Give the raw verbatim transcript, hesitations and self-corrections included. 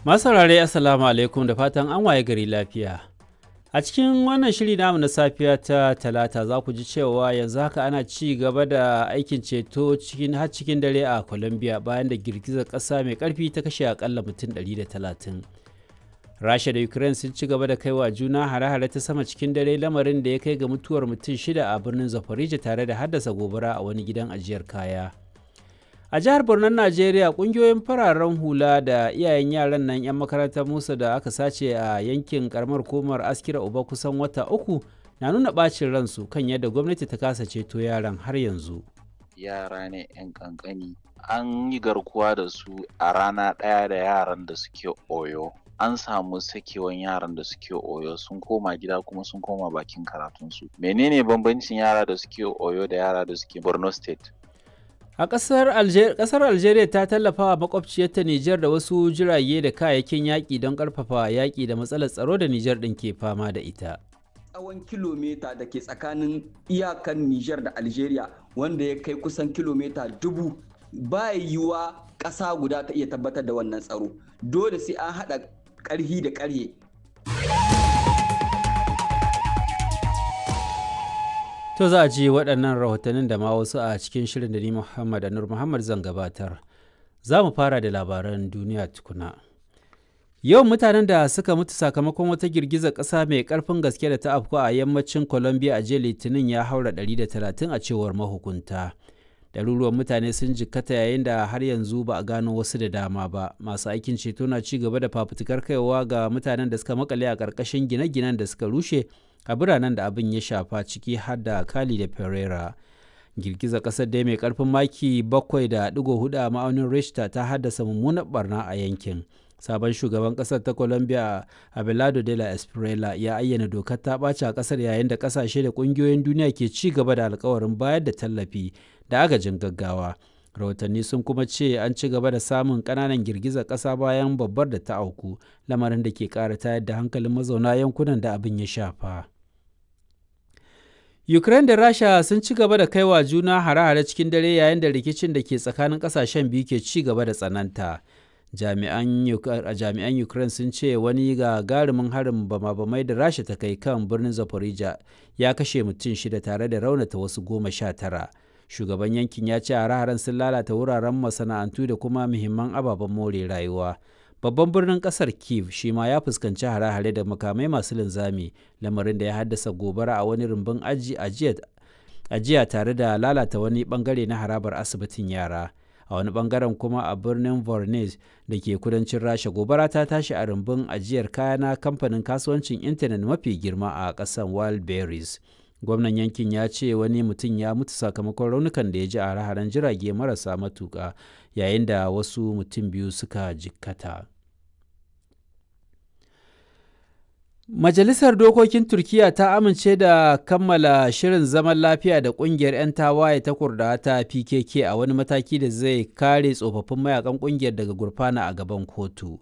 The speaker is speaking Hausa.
Masu saurare, Assalamu alaikum, da fatan an waye gari lafiya. A cikin wannan shiri namu na safiya ta Talata, za ku ji cewa yanzu haka ana ci gaba da aikin ceto cikin har cikin dare a Colombia bayan da girgizar ƙasa mai ƙarfi ta kashe akalla mutum ɗari da talatin. Rasha da Ukraine sun ci gaba da kaiwa juna hare-hare ta sama cikin dare, lamarin da ya kai ga mutuwar mutum shida a birnin Zaporizhia tare da haddasa gobara a wani gidan ajiyar kaya. A jihar Borno, Najeriya, kungiyoyin fararen hula da iyayen yaran nan 'yan makarantar Musa da aka sace a yankin karamar hukumar Askira Uba kusan wata uku na nuna bacin ransu kan yadda gwamnati ta kasa ceto yaran har yanzu. Yara ne 'yan kankani, an yi garkuwa da su a rana ɗaya da yaran da suke Oyo. An samu sakewan yaran da suke Oyo, sun koma gida kuma sun koma bakin karatunsu. Menene bambancin yara da suke Oyo da yara da suke Borno State? A ƙasar Alger, ƙasar Algeria ta tallafa wa makwabciyarta Nijar da wasu jirage da kayayyakin yaƙi don ƙarfafa yaƙi da matsalar tsaro da Nijar ɗin ke fama da ita. Tsawon kilomita da ke tsakanin iyakan Nijar da Algeria, wanda ya kai kusan kilomita dubu, ba yiwuwa ƙasa guda ta iya tabbatar da wannan tsaro. Dole sai an haɗa ƙarhi da ƙarhe. To, za a ji waɗannan rahotannin da ma wasu a cikin shirin da ni Muhammad Anur Muhammad zan gabatar. Za mu fara da labaran duniya tukuna. Yawan mutanen da suka mutu sakamakon wata girgizar ƙasa mai ƙarfin gaske da ta afku a yammacin Colombia a jiya Litinin ya haura ɗari da talatin, a cewar mahukunta. Ɗaruruwan mutane sun jikkata, yayin da har yanzu ba a gano wasu da dama ba. Masu aikin ceto na ci gaba da fafutukar kaiwa ga mutanen da suka makale a ƙarƙashin gine-ginen da suka rushe a biranen da abin ya shafa, ciki har da Cali da Pereira. Girgizar ƙasar dai mai ƙarfin maki bakwai da ɗigo huɗu a ma'aunin Richter ta haddasa mummunar barna a yankin. Sabon shugaban ƙasar ta Colombia, Abelardo de la Espriella, ya ayyana dokar ta ɓaci a ƙasar, yayin da ƙasashe da ƙungiyoyin duniya ke ci gaba da alkawarin bayar da tallafi da agajin gaggawa. Rahotanni sun kuma ce an ci gaba da samun ƙananan girgizar ƙasa bayan babbar da ta auku, lamarin da ke ƙara tayar da hankalin mazauna yankunan da abin ya shafa. Ukraine da Rasha sun ci gaba da kaiwa juna hare-hare cikin dare, yayin da rikicin da ke tsakanin kasashen biyu ke ci gaba da tsananta. Jami'an Ukraine sun ce wani gagarumin harin bama-bamai da Rasha ta kai kan birnin Zaporizhia ya kashe mutum shida tare da raunata wasu goma sha tara. Shugaban yankin ya ce hare-haren sun lalata wuraren masana'antu da kuma muhimman ababen more rayuwa. Babban birnin kasar Kiev shi ma ya fuskanci hare-hare da makamai masu linzami, lamarin da ya haddasa gobara a wani rumbun aji ajiya tare da lalata wani bangare na harabar asibitin yara. A wani bangaren kuma, a birnin Voronezh da ke kudancin Rasha, gobara ta tashi a rumbun ajiyar kaya na kamfanin kasuwancin intanet mafi girma a ƙasar, Wildberries. Gwamnan yankin ya ce wani mutum ya mutu sakamakon raunukan da ya ji a hare-haren jirage marasa matuƙa, yayin da wasu mutum biyu suka jikkata. Majalisar Dokokin Turkiyya ta amince da kammala shirin zaman lafiya da kungiyar 'yan tawaye ta Kurdawa ta P K K, a wani mataki da zai kare tsofaffin mayakan kungiyar daga gurfana a gaban kotu.